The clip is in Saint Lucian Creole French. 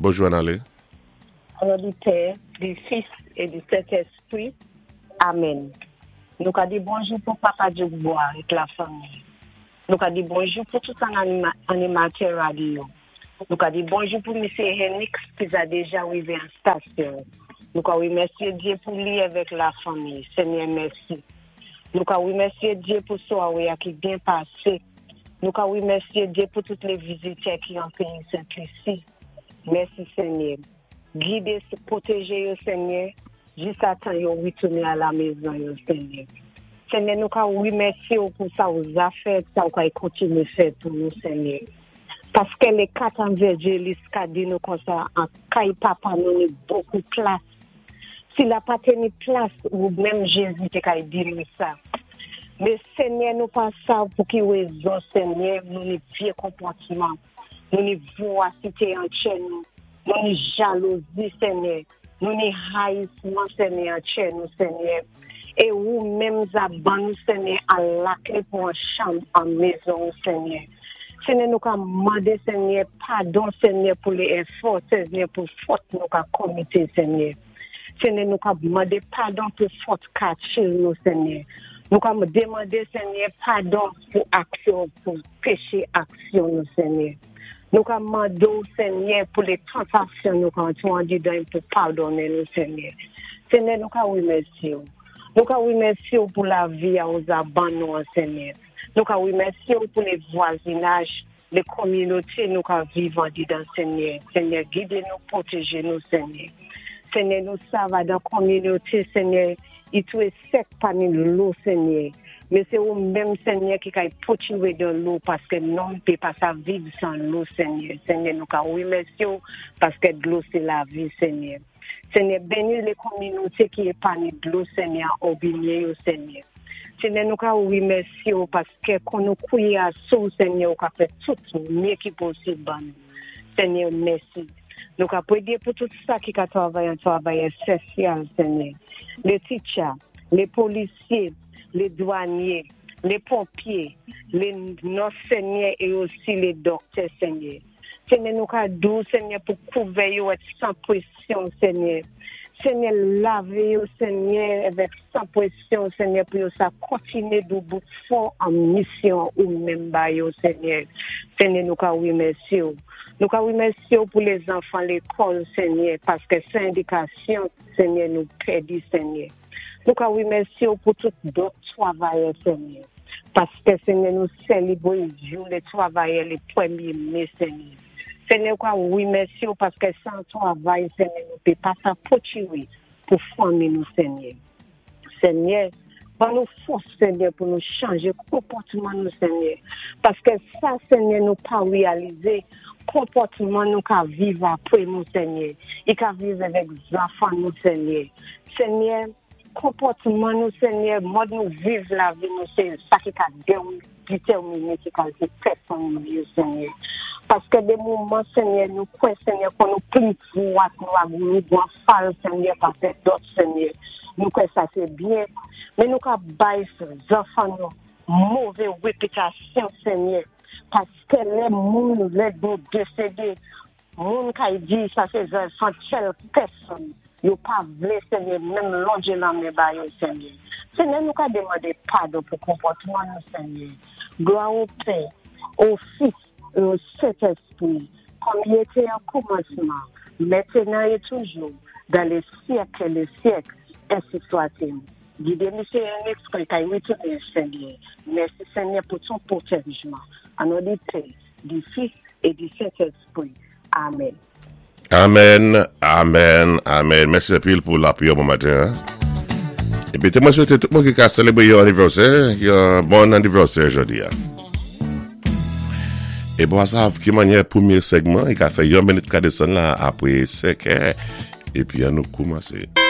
Bonjou Anale. Au nom du Père, du Fils et du Saint-Esprit. Amen. Nou ka di bonjou pou Papa Djoukbois ak la fanmi. Nou ka di bonjou pou tout animatè radyo. Nou ka di bonjou pou Misye Henix ki za deja rive an stasyon. Nou ka remèsye Dye pou li avèk la fanmi. Senyè mèsi. Nou ka remèsye Dye pou sware a ki byen pase. Nou ka remèsye Dye pou tout le vizitè ki an peyi Sent Lisi. Mèsi Senyè. Gide, pwoteje yo Senyè, jis a tan yo retounen a la mezon yo Senyè. Senyè nou ka remèsye ou pou sa ou za fè, sa ou kay kontinye fè pou nou Senyè. Paske le 4 anvèjelis ka di nou konsa an kay papa nou ni bokou plas. Si la pa te ni plas ou menm Jezi te kay di nou sa. Men Senyè nou pa sav pou ki rezon Senyè nou ni vye konpòtman. Nou ni vorasite an tchè nou, nou ni jalouzi, Senyè, nou ni rayisman, Senyè, an tchè nou, Senyè. E ou menm za ban nou, Senyè, a lakle pou an chanm an mezon ou, Senyè. Senyè, nou ka mande, Senyè, padon, Senyè, pou le efò, Senyè, pou fòt nou ka komite, Senyè. Senyè, nou ka mande padon pou fòt kache nou, Senyè. Nou ka demande, Senyè, padon pou aksyon, pou peche aksyon nou Senyè. Nou ka mande w Senyè pou le tantasyon nou ka antre andedan pou padonnen nou Senyè. Senyè nou ka remèsye w. Nou ka remèsye w pou lavi a ou za ban nou an Senyè. Nou ka remèsye w pou le vwazinaj, le kominote nou ka viv andedan Senyè. Senyè gide nou, pwoteje nou Senyè. Senyè nou sav adan kominote Senyè i tou sèk pami lo Senyè men se ou menm Senyè ki kay potire dan lo paske nonm pe pa sa viv san lo Senyè Senyè nou ka remèsye w paske dlo se lavi Senyè Senyè beni le kominote ki epani dlo Senyè òbinye yo Senyè Senyè nou ka remèsye w paske kon nou kouye a sou Senyè ou ka fè tout mye ki posib ban nou Senyè mèsi Nou ka pwedye pou tout sa ki ka travay an travay esensyal, Senyè. Le titcha, le polisye, le dwanye, le ponpye, le nòs, Senyè, e osi le dòktè, Senyè. Senyè, nou ka di w, Senyè, pou kouvè yo et san presyon, Senyè. Senyè, lave yo, Senyè, avèk san presyon, Senyè, pou yo sa kontinye doubout fò an misyon ou menm ba yo, Senyè. Senyè, nou ka remèsye w. Nou ka remèsye w pou lezanfan lekòl, Senyè, paske san edikasyon, Senyè, nou pèdi, Senyè. Nou ka remèsye w pou tout dòt travayè, Senyè, paske, Senyè, nou selebre jou le travayè le premye me, Senyè. Senyè, nou ka remèsye w paske san travay, Senyè, nou pe pa sa potire pou fanmi nou, Senyè. Senyè, ban nou fòs, Senyè, pou nou chanje konpòtman nou, Senyè. Paske sa, Senyè, nou pa reyalize, konpòtman nou ka viv apre nou, Senyè. I ka viv avèk zanfan nou, Senyè. Senyè, konpòtman nou, Senyè, mòd nou viv lavi nou, se sa ki ka detèmine ki kalte pèsonn nou ye, Senyè. Paske de moman, Senyè, nou kwè, Senyè, kon nou pli dwat, nou ak nou gwan fal, Senyè, pase dòt, Senyè. Nou kwè sa se byen, men nou ka bay zanfan nou move repitasyon, Senyè, paske lè moun, lè nou desede, Moun kay di sa se zanfan tèl pèsonn yo pa vle senyè menm lonje lanmen ba yo senyè senyè nou ka demande padon pou konpòtman nou senyè glwa o pè o fis e o sentespri kòm li ete o kòmansman mètenan e toujou dan le syèk e le syèk ensi swatil gide misye Ernix kon kay retounen senyè mèsi senyè pou ton pwotèjman an non di pè di fis e di sentespri amen. Amen amen amen mèsi anpil pou lapriyè bon maten an epi te mwen swete tout moun ki ka selebre yon anivèsè yon bon anivèsè jodi a e bon asav ki manyè premye segman e ka fè yon minit ka desann la apre 5 è epi an nou koumanse.